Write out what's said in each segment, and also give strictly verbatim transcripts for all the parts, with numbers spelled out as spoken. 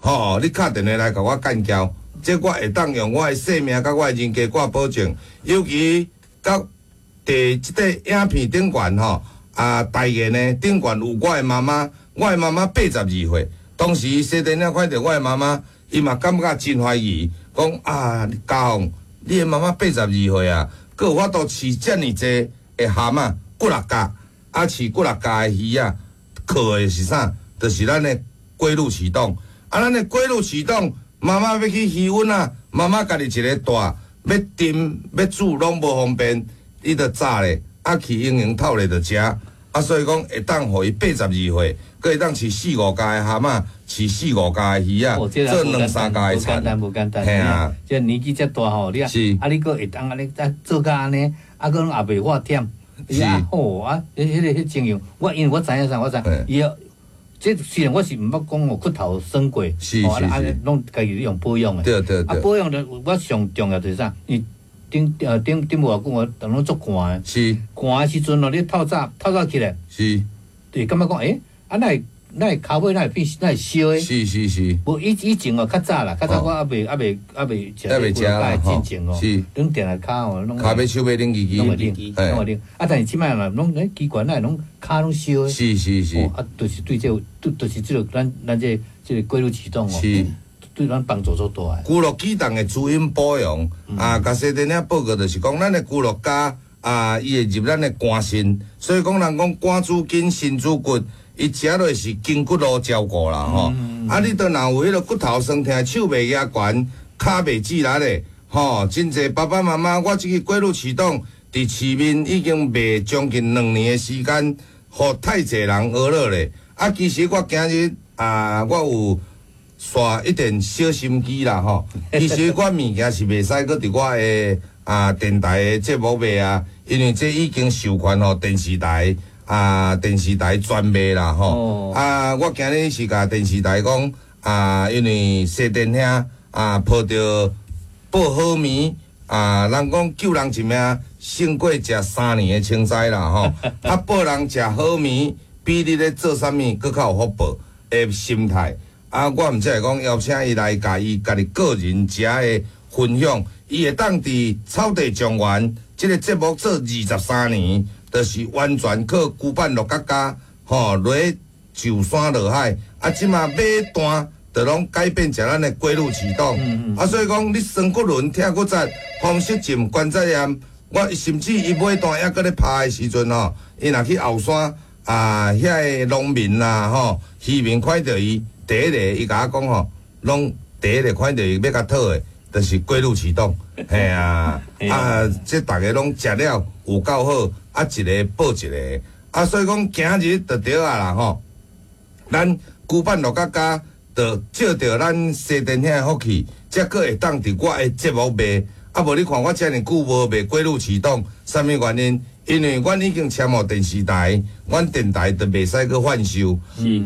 吼，你敲電話來共我幹譙，這我會當用我的性命佮我的人格掛保證。尤其佮佇這個影片頂懸吼，啊，代言的頂懸有我的媽媽，我的媽媽八十二歲，當時西電影看著我的媽媽，伊嘛感覺真懷疑，講啊，嘉鳳，你的媽媽八十二歲啊，閣有法度飼遮爾濟的蚶仔，幾若架，啊，飼幾若架的魚仔，靠的是啥？就是咱的龜鹿啟動。啊，咱的龜鹿啟動，媽媽欲去魚塭啊，媽媽家己一个帶，欲浸欲煮攏無方便，伊就炸咧，啊去營營透咧就食。啊，所以講會當予伊八十二歲，閣會當飼四五架的蚶仔，飼四五架的魚仔，做兩三家的田。無簡單，無簡單。嘿啊，這年紀遮大吼，你啊，啊你閣會當按呢啊做甲按呢，啊閣攏也袂發忝。是啊，好啊，彼彼个彼情形，我因為我知影啥，我知伊。這雖然我是毋捌講哦，骨頭酸過，是是是，攏家己用保養的。對對對。啊，保養的我上重要就是啥？伊頂呃頂頂無偌久，我逐攏足寒的。是。寒的時陣哦，你透早透早起來。是。對，感覺講，欸，啊，哪會哪會跤尾哪會變哪會燒的？是是是。無以以前哦，較早啦，較早我猶未猶未猶未食猶未食啦，吼。進前哦，是。攏定來跤哦，攏。跤尾手尾冷吱吱。攏會冷，攏會冷。啊，但是這擺啦，攏欸奇怪，哪會攏跤攏燒的？是是是。啊，就是對這個，對，就是這個咱咱這個這個龜鹿啟動哦。是。對咱幫助足大的。龜鹿啟動的滋陰保養啊，共西電影報告就是講，咱的龜鹿加啊，伊會入咱的肝腎，所以講人講肝主筋，腎主骨，伊食落是筋骨路照顧啦吼。啊，你都若有彼个骨頭酸疼、手袂舉懸、跤袂直力的，吼，真濟爸爸媽媽，我這个龜鹿啟動佇市面已經賣將近兩年的時間，予太濟人學落咧。啊，其實我今日啊，我有刷一點小心機啦吼。其實我物件是袂使閣佇我的啊電台的節目賣啊，因為這已經授權予電視台啊，電視台專賣啦吼。啊，我今日是共電視台講啊，因為西電兄啊，抱著報好物啊，人講救人一命勝過食三年的凊彩啦吼。啊，報人食好物，比你咧做啥物閣較有福報的心態。啊，我毋才會講邀請伊來，共伊家己個人食的分享，伊會當佇草地莊園這个節目做二十三年，就是完全靠龜板鹿角膠，吼，落上山落海，啊，這馬買單，就攏改變食咱的龜鹿啟動。啊，所以講你酸骨輪、疼骨節、風濕症、關節炎，我甚至伊買單猶閣咧拍的時陣吼，伊若去後山啊，遐个農民啦吼，漁民看著伊。第一個，伊共我講吼，攏第一個看著伊欲共討的，就是龜鹿啟動，嘿啊，啊，這逐家攏食了有夠好，啊，一个報一個，啊，所以講今日就對啊啦吼，咱龜板鹿角膠，就借著咱西電兄的福氣，才閣會當佇我的節目賣，啊，無你看我遮爾久無賣龜鹿啟動，啥物原因？因為阮已經簽予電視台，阮電台就袂使閣販售。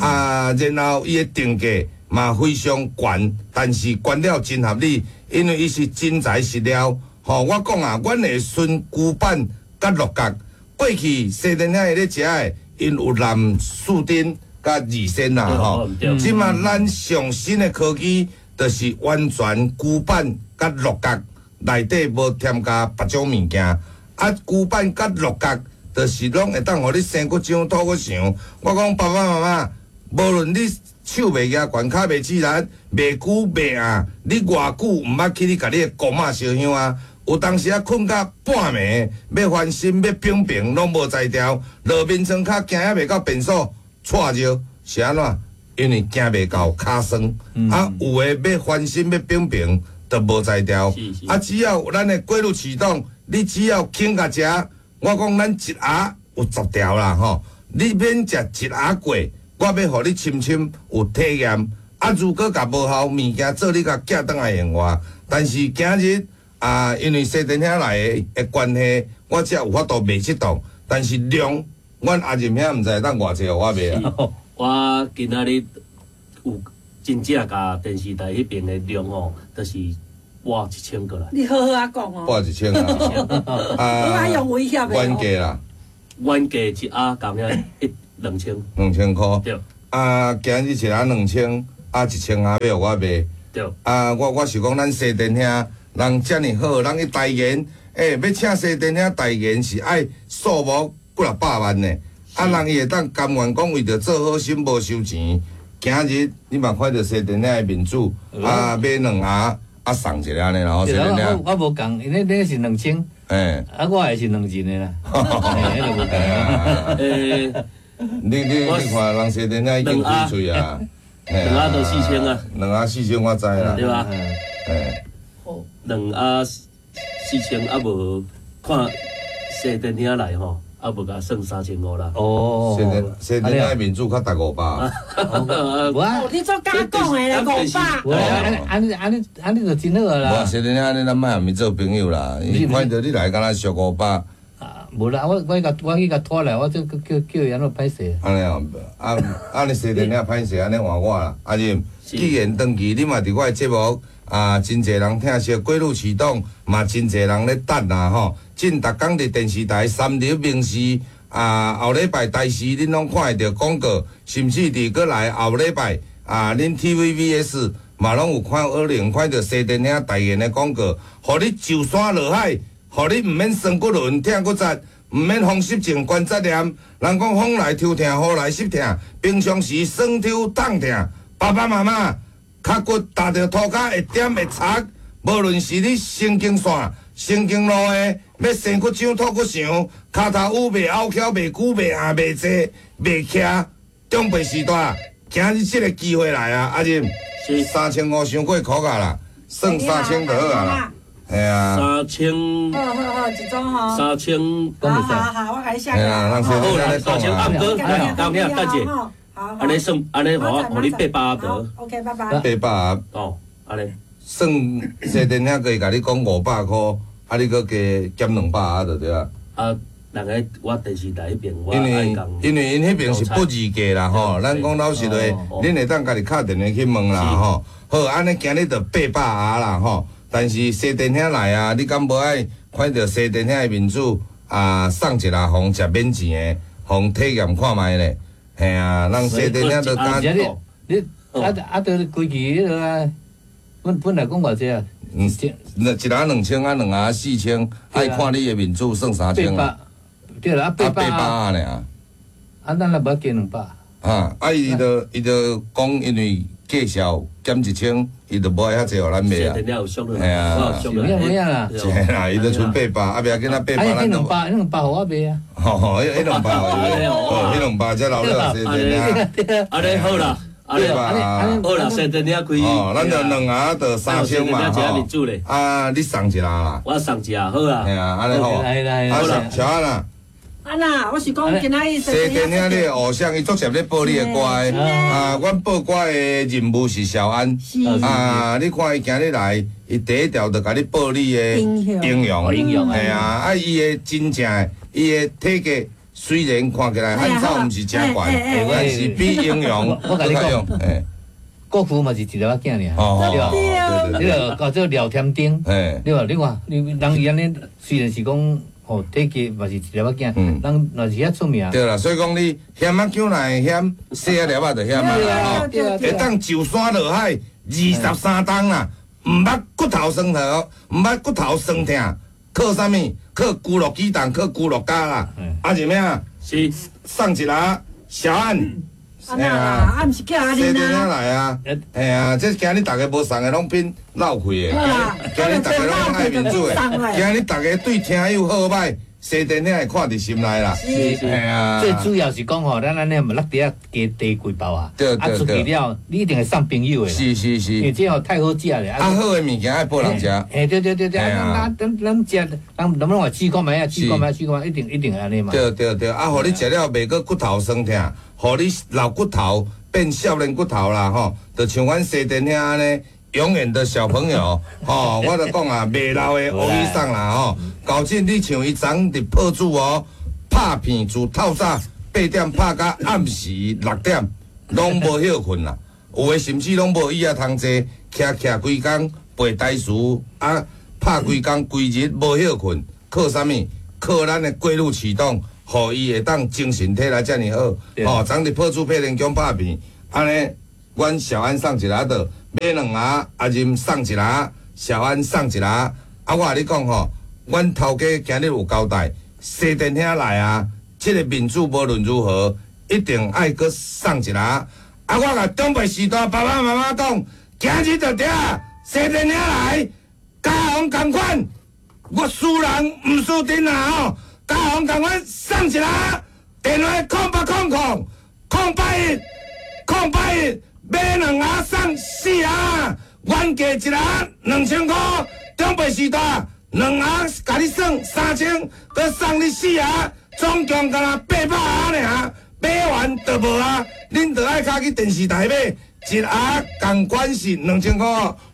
啊，然後伊的定價嘛非常懸，但是懸了真合理，因為伊是真材實料。吼，我講啊，阮會孫龜板佮鹿角，過去西電兄咧食的，𪜶有藍樹丁佮二仙啦吼。這馬咱上新的科技，就是完全龜板佮鹿角內底無添加別種物件。啊，龜板佮鹿角，就是攏會當予你生骨長、吐骨長。我講爸爸媽媽，無論你手袂舉懸、跤袂直力、袂久袂暗，你偌久毋捌去你共你的姑媽燒香啊？有當時啊，睏到半暝，欲翻身欲平平，攏無才調，落眠床跤行猶袂到便所，掣著是按怎？因為行袂到，跤酸。啊，有的欲翻身欲平平，都無才調。啊，只要咱的龜鹿啟動。你只要肯共食，我講咱一盒有十條啦吼，你免食一盒過，我欲予你深深有體驗。啊，如果共無效，物件做你共寄轉來還我。但是今日啊，因為西電兄來的的關係，我才有法度賣這檔。但是量，阮阿仁兄毋知會當偌濟予我賣啊。我今仔日有真正共電視台彼邊的量吼，就是。撥一千過來，你好好仔講哦。撥一千啊！啊，用威脅的。原價啦，原價一盒共遐一兩千。兩千箍。對。啊，今日一盒兩千，啊，一千盒欲予我賣。對。啊，我我是講咱西電兄人遮爾好，人去代言，欸，欲請西電兄代言是愛數目幾若百萬呢。啊，人伊會當甘願講為著做好心無收錢。今日你嘛看著西電兄的面子，啊，買兩盒，啊送一个按呢啦，西電兄。我我無仝，因為你是兩千，欸，啊，我的是兩人的啦，嘿，彼個無仝。欸，你你你看人西電兄已經開喙啊，兩盒都四千啊，兩盒四千我知啦，對吧？欸，兩盒四千啊，無看西電兄來吼。啊，無共算三千五啦。哦，西電西電兄面子較值五百。哦，你做假講的啦，五百。無按按按呢按呢就真好啦。無西電兄按呢，咱莫共伊做朋友啦。伊看著你來，敢若俗五百。啊，無啦，我我共我去共拖來，我這叫叫伊按怎歹勢。按呢哦，啊按呢西電兄歹勢，按呢換我啦。啊是，既然長期你嘛佇我的節目啊，真濟人聽說過路啟動，嘛真濟人咧等啦吼。進逐工佇電視台三立民視啊，後禮拜台視恁攏看會著廣告，甚至佇閣來後禮拜啊，恁 T V B S 嘛攏有看可能看著西電兄代言的廣告，予你上山落海，予你毋免酸骨輪疼骨節，毋免風濕症關節炎。人講風來抽疼，雨來濕疼，平常時酸抽痛疼，爸爸媽媽跤骨踏著塗跤會點會擦，無論是你神經線、神經路的，欲生骨長、吐骨長，跤頭趺袂拗翹、袂久、袂硬、袂坐、袂徛，長輩時代，今日這個機會來啊！阿仁，三千五傷過箍啊啦，算三千就好啊啦，係啊。三千。好好好，一組吼。三千。好好好，我共你寫。係啊，好啦，三千啊，哥，當聽等者。好。按呢算，按呢予我，予你八百盒得。 OK，拜拜。八百盒。哦，按呢。算西電兄閣會共你講五百箍。啊！你閣加減兩百盒就對啊。啊，人個我電視台彼邊，我因為因為𪜶彼邊是不二價啦吼，咱講老實話，恁會當家己敲電話去問啦吼。好，按呢今日就八百盒啦吼。但是西電兄來啊，你敢無愛看著西電兄的面子啊？送一下予食免錢的，予體驗看覓咧。嘿啊，人西電兄就敢。你你啊啊！著規矩彼落啊，本本來講偌濟啊？嗯，一人兩千啊，兩盒四千，愛看你的面子算三千啊。對啦，啊八百啊爾。啊，咱也無加兩百。啊，啊伊就伊就講，因為介紹減一千，伊就無愛遐濟予咱賣啊。係啊，有影有影啦。是啦，伊就賰八百，啊袂要緊啊，八百咱。彼兩百，彼兩百予我賣啊。吼，彼兩百，哦，彼兩百才留了西電兄。按呢好啦。對吧？好啦，西電兄開。哦，咱就兩盒就三千嘛吼。啊，你送一盒啦。我送一盒好啊。係啊，按呢好。啊，小安啊。啊啦，我是講今仔日西電兄，你的偶像，伊足濟咧報你的歌的。啊，阮報歌的任務是小安。啊，你看伊今日來，伊第一條就共你報你的英雄。英雄。係啊，啊，伊的真正的，伊的體格。雖然看起來漢草毋是誠懸，但是比英雄我共你講，國父嘛是一粒仔囝爾，對吧？你著叫做廖添丁，對吧？你看，你人伊按呢，雖然是講吼體格嘛是一粒仔囝，人若是遐出名。對啦，所以講你險仔姜若會險，細仔粒仔就險啊啦吼。會當上山落海二十三冬啦，毋捌骨頭酸痛，毋捌骨頭酸痛。靠啥物？靠龜鹿雞蛋，靠龜鹿膠啦。啊是咩啊？是送一个小安。啊啦，啊毋是叫阿玲啊。來啊！嘿啊，這今日逐家無送的，攏變浪費的。今日逐家攏愛面子的。今日逐家對聽友好歹，西電兄會看佇心內啦。是是。啊。最主要是講吼，咱按呢嘛落地仔加地幾包啊。對對對。啊出去了，你一定會送朋友的。是是是。因為這吼太好食咧。啊，好的物件愛報人食。嘿，對對對對，啊，咱咱咱食，人咱攏話試看覓啊，試看覓，試看覓，一定一定會按呢嘛。對對對，啊，予你食了袂閣骨頭酸疼，予你老骨頭變少年骨頭啦吼，就像阮西電兄按呢，永遠的小朋友吼，我就講啊，袂老的烏醫生啦吼。搞真你像伊昨佇破主哦，拍片自透早八點拍到暗時六點，攏無歇睏啦。有的甚至攏無椅仔通坐，徛徛規工背台詞啊，拍規工規日無歇睏，靠啥物？靠咱的過濾系統，予伊會當精神體力遮爾好。吼，昨佇破主配電宮拍片，按呢阮小安送一下的，買兩盒阿任送一下，小安送一下。啊，我共你講吼，阮頭家今日有交代，西電兄來啊，這個面子無論如何一定愛閣送一下。啊，我共長輩時代爸爸媽媽講，今日就對啊，西電兄來，家訪仝款，我輸人毋輸陣啊吼，家訪仝款送一下，電話空八空空空八一空八一，買兩盒送四盒，原價一盒兩千箍，長輩時代兩盒共你算三千，閣送你四盒，總共干焦八百盒爾，買完就無啊！恁就愛較去電視台買，一盒仝款是兩千箍。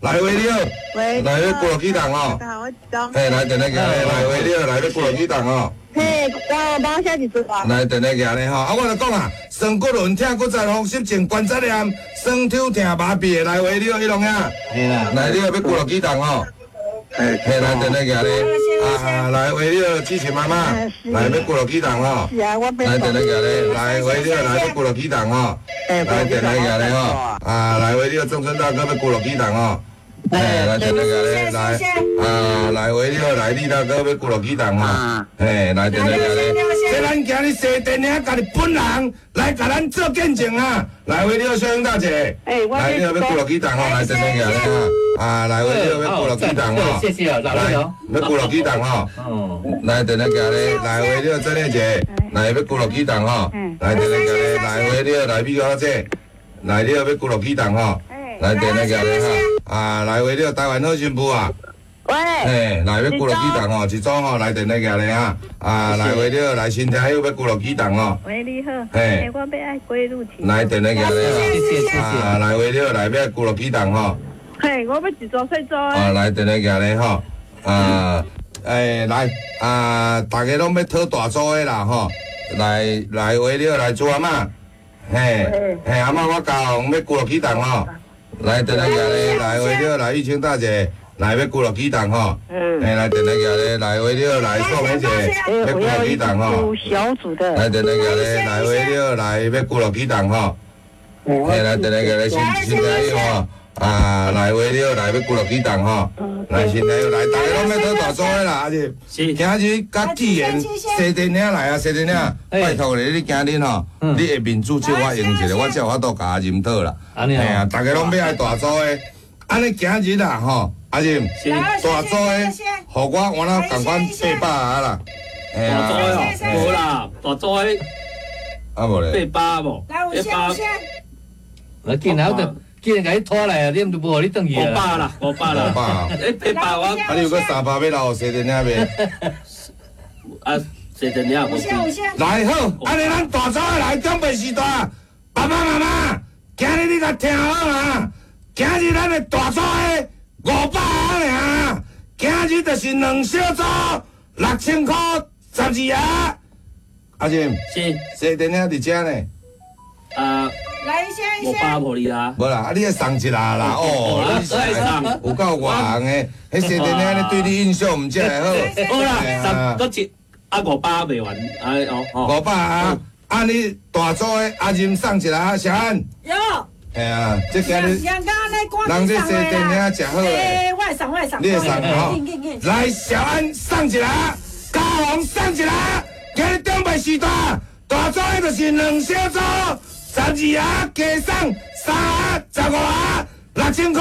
來喂你好，喂，來欲龜落起動哦。大家好，我是張。嘿，來電話寄來，來喂你好，來欲龜落起動哦。嘿，我幫寫一組啊。來電話寄咧吼，啊，我就講啊，酸骨輪疼骨節風濕症關節炎，酸抽疼麻痹的，來喂你好，彼龍兄。嘿啦，來你好，欲龜落起動哦。嘿，來電話寄咧，啊，來喂你好，志晴媽媽，來欲龜落起動吼。是啊，我來電話寄咧，來喂你好，來欲龜落起動吼。來電話寄咧吼，啊，來喂你好，鄭春大哥欲龜落起動吼。嘿，來電話寄咧，來，啊，來喂你好，來李大哥欲龜落起動吼。嘿，來電話寄咧，這咱今日西電兄家己本人來共咱做見證啊！來喂你好，小英大姐，來你好，欲龜落起動吼，來電話寄咧哈，啊，來喂你好，欲龜落起動吼，謝謝啊，來，欲龜落起動吼，來電話寄咧，來喂你好，曾麗姐，來欲龜落起動吼，來電話寄咧，來喂你好，來美小姐，來你好，欲龜落起動吼，來電話寄咧哈，啊，來喂你好，台灣好新婦啊。喂，嘿，來欲龜落起動吼，一組吼來電話寄咧哈，啊，來喂你好，來新聽友欲龜落起動吼。喂，你好。嘿，我欲愛龜鹿起。來電話寄咧哈，謝謝謝謝。啊，來喂你好，來欲龜落起動吼。嘿，我欲一組細組。啊，來電話寄咧吼，啊，欸，來啊，大家攏欲討大組的啦吼，來來喂你好，來朱阿嬤，嘿，嘿，阿嬤我教欲龜落起動吼，來電話寄咧，來喂你好，來玉清大姐。來欲龜落起動吼，嘿，來電話寄咧，來喂你好，來宋梅姐，欲龜落起動吼，小組的，來電話寄咧，來喂你好，來欲龜落起動吼，嘿，來電話寄咧，新新朋友吼，啊，來喂你好，來欲龜落起動吼，來新朋友來，大家攏欲討大組的啦，阿是，今日佮既然西電兄來啊，西電兄，拜託咧，你今日吼，你的面子借我用一下，我才有法度共阿任討啦，嘿啊，大家攏欲愛大組的，按呢今日啦吼。阿任，大組的，予我我那仝款八百盒啦。大組的哦，無啦，大組的，啊無咧，八百無，來，有先有先。我見然就，既然共你拖來啊，你毋就無予你轉去啊。五百啦，五百啦，五百。欸，八百我，啊，你有閣三百欲留予西電兄袂？啊，西電兄無。來好，按呢咱大組的來長輩時代，爸爸媽媽，今日你共聽好啊，今日咱的大組的。五百盒爾，今日就是兩小組六千箍十二盒。阿任，是，西電兄佇遮呢。啊，來一下一五百予你啦。無啦，啊你愛送一下啦，哦，你是有夠外行的，彼西電兄咧對你印象毋才會好。好啦，十閣一啊五百賣完，哎哦哦。五百啊，啊你大組的阿任送一下，小安。有。嘿啊，這今日人這西電兄食好嘞，我會送，我會送，你會送吼？來，小安送一下，嘉宏送一下，今日長輩時代，大組的就是兩小組，十二盒加送三盒，十五盒，六千箍，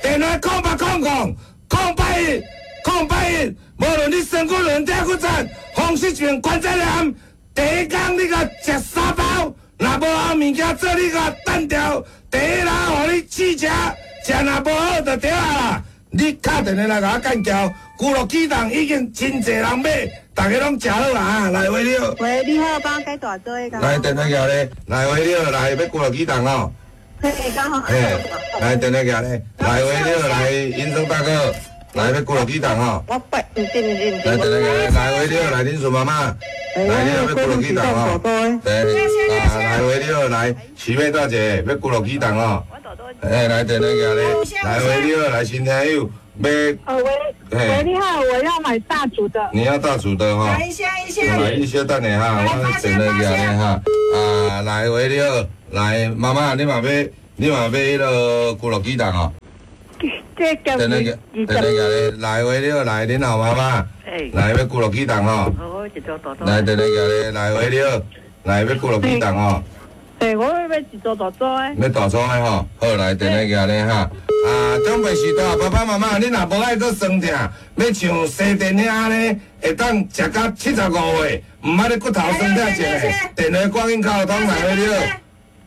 電話空八空空空八一空八一，無論你酸骨輪、疼骨節、風濕病、關節炎，第一工你共食三包，若無效物件做你共單調。第一人予你試食，食若無好就對啊啦。你敲電話來共我幹譙，龜落起動已經真濟人買，大家攏食好啊！來喂你好，喂你好，幫我改大組的。來電話寄咧，來喂你好，來欲龜落起動哦。嘿，剛好。嘿，來電話寄咧，來喂你好，來尹生大哥，來欲龜落起動哦。我拜，毋是毋是毋是。來電話寄咧，來喂你好，來林順媽媽，來你好欲龜落起動哦。對，啊，來喂你好，來徐妹大姐，欲龜落起動哦。哎，來電話寄咧，來喂你好，來新聽友，欲。呃喂，喂你好，我要買大組的。你要大組的哈。來一下一下。來一下等下哈，我電話寄咧哈。啊，來喂你好，來媽媽，你嘛欲你嘛欲彼个骨碌鸡蛋哦？这电话电话来，喂，你好，来，恁老妈妈，来欲骨碌鸡蛋吼。来，电话来，来，喂，你好，来欲骨碌鸡蛋吼。对，我欲欲一组大组的。欲大组的吼，好，来，电话来哈。啊，长辈时代，爸爸妈妈，你若无爱阁酸疼，欲像西电影按呢，会当食到七十五岁，毋捌咧骨头酸疼一下。电话赶紧敲通来，你好。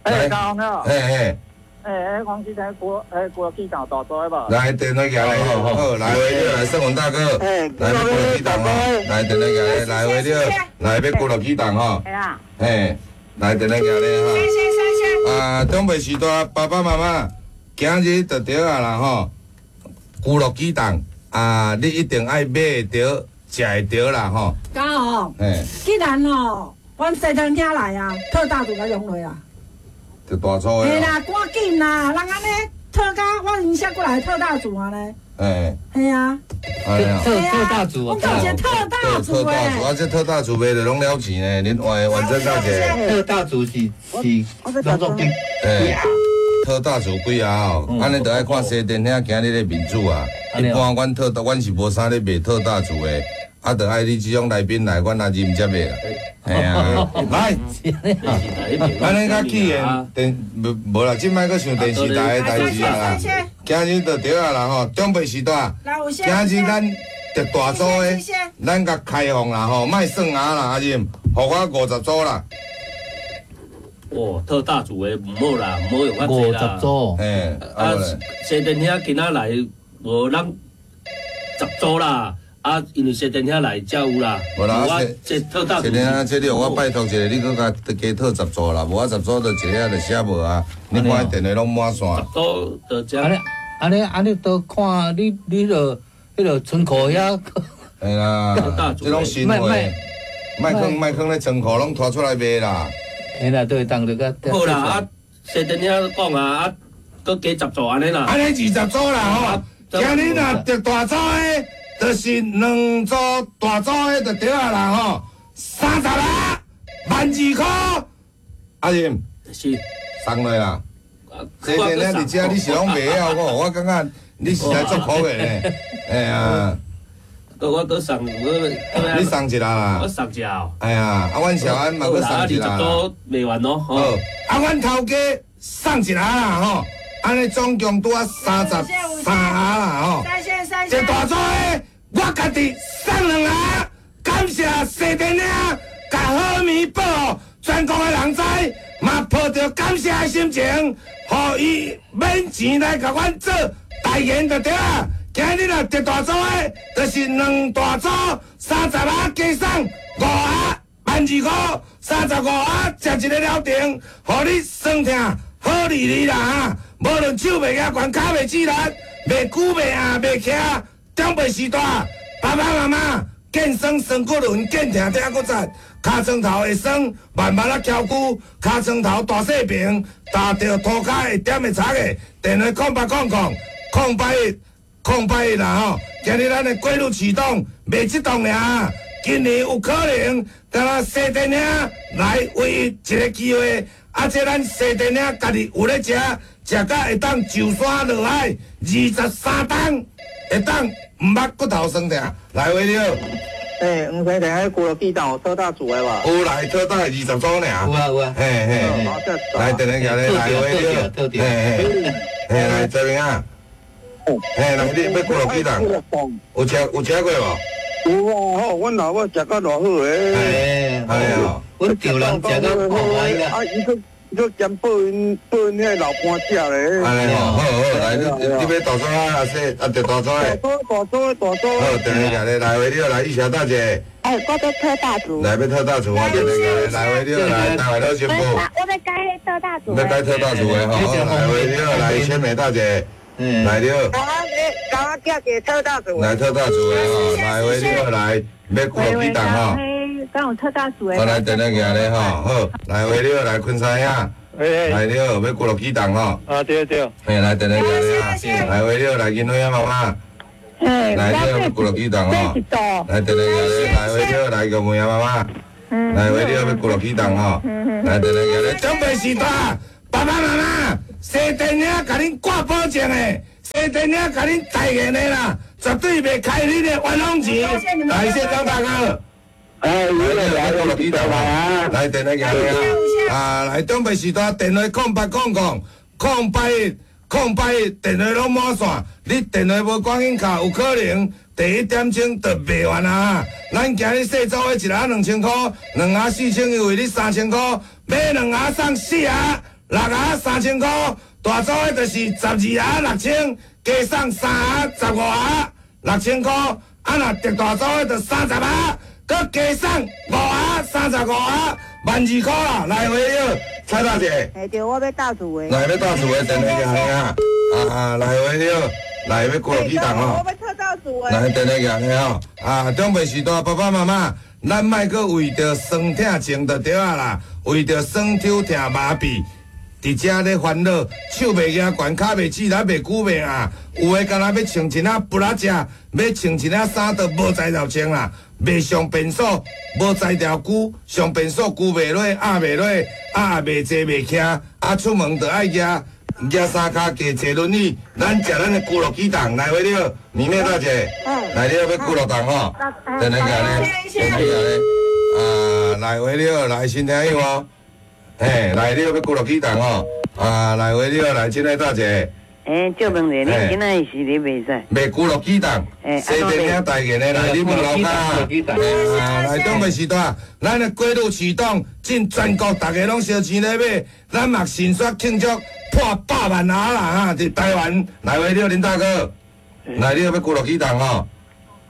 哎，高好。嘿嘿。哎，黄先生，骨哎骨碌鸡蛋大组的无？来，电话来，好，来，喂，你来，盛文大哥，来，欲骨碌鸡蛋吼，来，电话来，来，喂，你好，来，欲骨碌鸡蛋吼。嘿，来，电话来哈。啊，长辈时代，爸爸妈妈，今日就对啊啦吼，骨碌鸡蛋啊，你一定爱买会著，食会著啦吼。敢哦，既然吼，阮西藤兄来啊，特大组共用落啦。就大组的。嘿啦，赶紧啦，人按呢特甲我因写过来特大组啊咧。哎。嘿啊。特特大组。我讲一个特大组特大组，啊，这特大组卖的拢了钱呢，恁完完整大姐。特大组是是拢总几？哎，特大组几啊？吼，按呢就爱看西电兄今日的民主啊。一般阮特大，阮是无啥咧卖特大组的。啊，就爱你这种来宾来，阮也啉才卖啦。嘿啊，来，按呢较起的电无无啦，这摆阁想电视台的代志啊啦。今日就对啊啦吼，长辈时代，今日咱特大组的，咱共开放啦吼，莫算啊啦，阿任，予我五十组啦。哦，特大组的毋好啦，毋好用较济啦。五十组，嘿，啊，西电兄今仔来无咱十组啦。啊，因为西电兄来才有啦。无啦，这特大组。西电兄，这你予我拜托一下，你阁共加特十组啦，无我十组就一个就写无啊。你看电话拢满线。十组就这。按呢，按呢，按呢，都看你，你著彼个仓库遐。嘿啦，这拢新货。莫囥莫囥咧仓库拢拖出来卖啦。嘿啦，对，当就较。好啦，啊，西电兄讲啊，啊，阁加十组按呢啦。按呢二十组啦吼，今日若特大组的。就是两组大组的就对啊啦吼，三十啦，万二箍，阿任是送落啦。这个咧伫遮你是拢袂晓吼，我感觉你实在足可怜的。哎呀，我阁送我，你送一下啦。我送一下。哎呀，啊，阮小安嘛阁送一下。二十组卖完咯。好，啊，阮头家送一下啦吼，按呢总共拄仔三十三下啦吼。这大组的，我家己送两盒，感谢西电兄，共好物报予全国的人知，嘛抱著感谢的心情，予伊免钱来共阮做代言就对啊。今日若特大组的，就是两大组三十盒加送五盒万二箍，三十五盒食一个疗程，予你酸痛好利利啦哈！无论手袂举悬，跤袂指力。袂久袂硬袂徛，长辈时代，爸爸妈妈见酸酸骨轮，见疼疼骨节，尻川头会酸，慢慢仔翘骨，尻川头大细平，踏著涂跤会点会擦的，电话空八空空空八一空八一啦吼！今日咱的规律启动，袂这动尔，今年有可能，敢若西电兄来唯一一个机会，啊，这咱西电兄家己有咧食。食甲会当上山落海，二十三冬会当毋捌骨头酸疼。来，喂，你好。欸，黄先生，彼骨碌鸡蛋有特大组的无？有来特大二十组尔。有啊有啊。嘿嘿。来，电话来，来，喂，你好。嘿嘿。嘿，来这边啊。嘿，来，你欲骨碌鸡蛋？有食有食过无？有啊，吼，阮老母食甲偌好个。哎呀，阮丈人食甲好啊。啊，伊阁。你兼报𪜶报𪜶彼个老伴食咧。按呢吼，好好来，你你欲大组啊？阿说啊，就大组的。大组大组大组。好，电话来来，喂，你好，来，玉霞大姐。哎，我欲特大组。来，欲特大组啊！电话来，喂，你好，来，台湾老师傅。我欲改特大组。欲改特大组的吼，来，喂，你好，来，千美大姐。来，你好。我我叫一个特大组。来特大组的吼，来，喂，你好，来，欲骨碌鸡蛋吼。敢有特大组的。我来电话寄咧吼，好，来喂，你好，来昆山兄，来你好，欲骨碌鸡蛋吼。啊对对。嘿，来电话寄咧，来喂，你好，来金辉妈妈。来你好，欲骨碌鸡蛋吼。来电话寄咧，来喂，你好，来玉梅妈妈。来喂，你好，欲骨碌鸡蛋吼。来电话寄咧，长辈时代，爸爸妈妈，西电影共恁挂保证的，西电影共恁代言的啦，绝对袂开恁的冤枉钱。来，谢张大哥。哎，来来啊！来电话啊！啊，来长辈时代电话空八空空空八一空八一，电话攏满线。你电话無趕緊敲，有可能第一點鐘就賣完啊！咱今日細組的一盒兩千箍，兩盒四千優惠，你三千箍，買兩盒送四盒，六盒三千箍。大組的就是十二盒六千，加送三盒十五盒六千箍。啊，若特大組的就三十盒。閣加送五盒，三十五盒，萬二箍啦！來回了，蔡大姐。嘿，對，我欲大組的。來欲大組的電話來啊！啊，來回了，來欲過幾檔吼。我欲特大組的。來電話來吼，啊，長輩時代爸爸媽媽，咱莫閣為著酸疼情就對啊啦，為著酸抽疼麻痹，佇遮咧煩惱，手袂舉懸，跤袂直，來袂久袂啊。有的敢若欲穿一領布仔食，欲穿一領衫都無才調穿啦。袂上便所，無才調久，上便所久袂落，壓袂落，壓袂坐袂徛，啊出門就愛舉舉三跤加坐輪椅。咱食咱的龜鹿起動來回了，美美大姐，來了欲龜鹿動吼，等下咧，等下咧，啊來回了，來新聽友哦，嘿，來了欲龜鹿起動吼，啊來回了，來親愛大姐。欸，借問者，恁今仔日是咧賣啥？賣龜鹿起動，西電影代言的來，你問老家。啊，來長輩時代，咱的龜鹿起動進全國，大家攏燒錢咧買，咱嘛迅速慶祝破百萬盒啦！哈，佇台灣來回了，林大哥，來你欲龜鹿起動吼？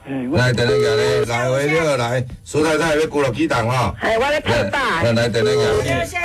來，電話咧，來回了，來，蘇太太欲龜鹿起動吼？哎，我咧特大。來，電話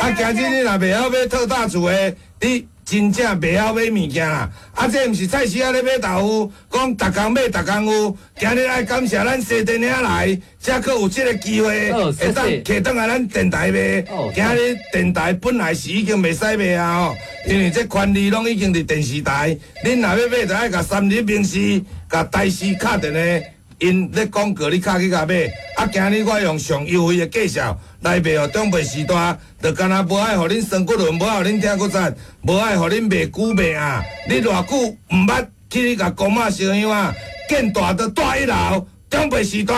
啊，今日你若袂曉買特大厝的，你。真正袂曉買物件啦！啊，這毋是菜市仔咧買豆腐，講逐工買逐工有。今日愛感謝咱西電影來，才閣有這個機會，會當揢轉來咱電台賣。今日電台本來是已經袂使賣啊吼，因為這權利攏已經佇電視台。恁若欲買，就愛共三立、民視、共台視敲電話，𪜶咧廣告你敲去共買。啊，今日我用上優惠的介紹來賣予長輩時代，就敢若無愛予恁酸骨輪，無愛予恁疼骨節，無愛予恁袂久袂啊！你偌久毋捌去共公媽燒香啊？見大就住一樓，長輩時代，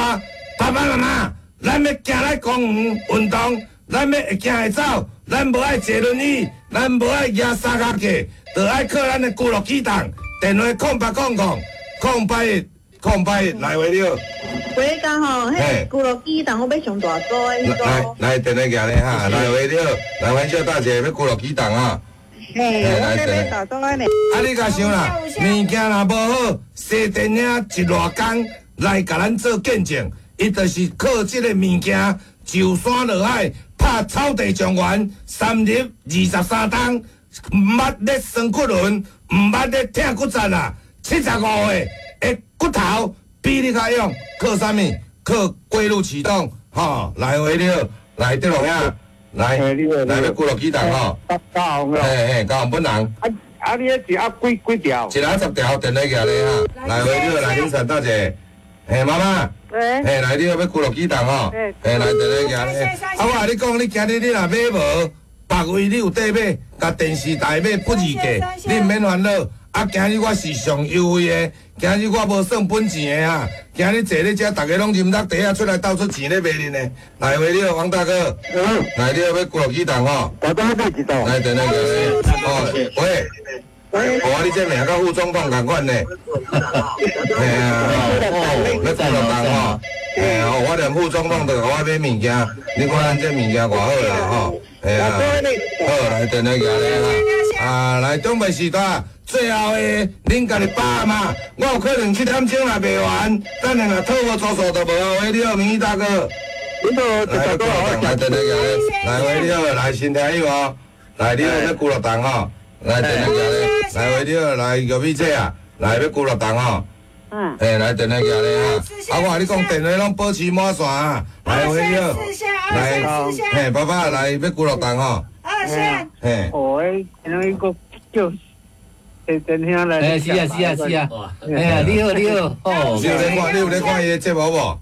爸爸媽媽，咱欲行來公園運動，咱欲會行會走，咱無愛坐輪椅，咱無愛舉三跤架，就愛靠咱的龜鹿起動。電話空八空空空八一空八一來回了。喂，剛好，彼龜鹿起動，我欲上大組的彼組。來來，電話寄咧哈，來回了，來阮小大姐欲龜鹿起動啊。嘿，我欲買大組的呢。啊，你共想啦，物件若無好，西電影一熱工來共咱做見證，伊就是靠這個物件，上山落海，拍草地狀元，三入二十三冬，毋捌咧酸骨輪，毋捌咧疼骨節啦，七十五歲的骨頭比你較勇，靠啥物？靠龜鹿起動，吼，來回了，來德龍兄，來，來欲龜鹿起動吼，嘿嘿，高雄本人。啊啊！你彼一盒幾幾條？一盒十條，電話寄咧哈。來回了，來林善大姐，嘿媽媽，嘿來你欲龜鹿起動吼，嘿來電話寄咧。啊，我共你講，你今日你若買無，別位你有得買，共電視台買不二價，你毋免煩惱。啊，今日我是上優惠的，今日我無算本錢的啊。今日坐咧遮，逐家攏啉落茶仔出來鬥出錢咧賣恁的。來回了，王大哥，來你欲龜鹿起動吼。大哥買一道。來，電話寄咧。哦，喂。哦，你這名佮副總統仝款呢？嘿啊，哦，欲龜鹿動吼。嘿啊，我連副總統都共我買物件，你看咱這物件偌好啦吼。嘿啊，好，來電話寄咧哈。啊，來長輩時代。最後的，恁家己爸媽，我有可能七點鐘若賣完，等下若討無租數就無啊。喂，你好，明義大哥。你好，來，來，電話來，來，喂，你好，來新聽友哦，來，你好，欲龜鹿動吼，來，電話來，來，喂，你好，來，玉美姐啊，來，欲龜鹿動吼，嗯，嘿，來，電話來哈，啊，我共你講，電話攏保持滿線啊，來，喂，你好，來，嘿，爸爸，來，欲龜鹿動吼，二線，嘿，哦，那個叫。哎，是啊，是啊，是啊，哎呀，你好，你好，哦，你有咧看，你有咧看伊的節目無？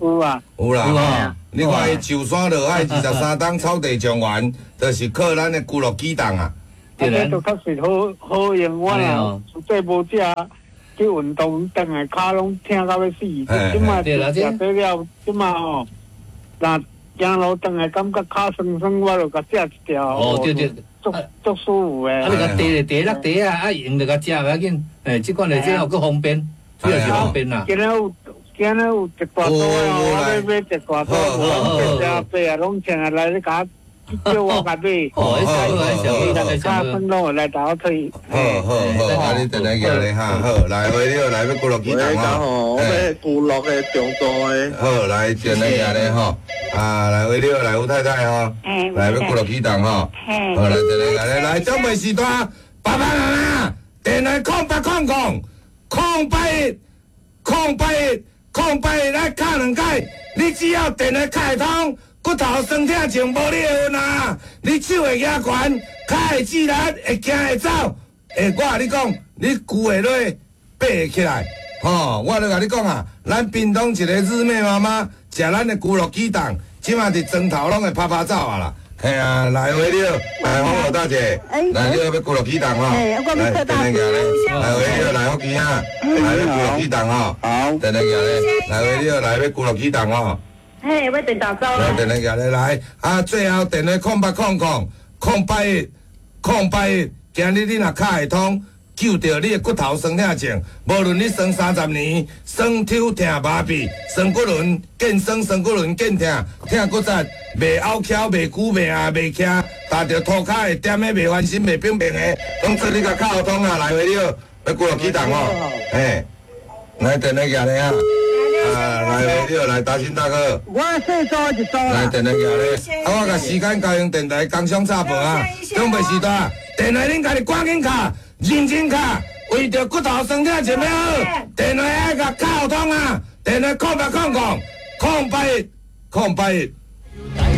有啊，有啦，你看伊上山落海二十三冬草地狀元，就是靠咱的龜鹿起動啊。對啦。這都確實好好用，我若實際無食去運動，轉來跤攏疼到欲死。這馬食這了，這馬吼，若行路轉來感覺跤酸酸，我就共食一條。哦，對對，足足舒服的。啊，你共茶咧，茶落茶啊，啊用就共食袂要緊。誒，這款的這閣方便，主要是方便啦。今日有，今日有一大袋哦，我欲買一大袋，攏食白啊，攏穿來你共。叫我共買。哦，那小，較分攏來倒退。好好好，啊你等下叫咧哈，好，來回你來欲骨碌啟動吼，我欲骨碌的中度的。好，來等下叫咧吼，啊來回你來吳太太吼，來欲骨碌啟動吼，好來等下叫咧，來長輩時代，爸爸媽媽，電話空八空空，空八一，空八一，空八一來敲兩擺，你只要電話敲會通。骨頭酸痛症無你的份啊！你手會舉懸，跤會自力，會行會走。欸，我共你講，你跪會落，爬會起來。吼，我咧共你講啊，咱屏東一個日妹媽媽食咱的骨碌啟動，這馬佇床頭攏會拍拍走啊啦。嘿啊，來回了，來黃老大姐，來你欲骨碌啟動吼，來，電話來回了，來福基啊，來欲骨碌啟動吼，好，電話來回了，來欲骨碌啟動吼。嘿，欲電大組。來，電話寄來來，啊，最後電話空八空空空八一空八一，今日你若敲會通，救著你的骨頭酸痛症，無論你酸三十年，酸抽疼麻痹，酸骨輪見酸，酸骨輪見疼，疼骨折，袂拗翘，袂久，袂硬，袂徛，踏著塗跤會踮的，袂翻身，袂平平的，攏做你共敲通啊，來回了，欲骨碌啟動哦，嘿，來電話寄來啊。啊，來，你來，大新大哥。我細組一組啦。來，電話寄咧。啊，我共時間交用電台工商插播啊。長輩時代，電話恁家己趕緊敲，認真敲，為著骨頭酸痛症欲好，電話愛共敲通啊。電話空八空空，空八一，空八一。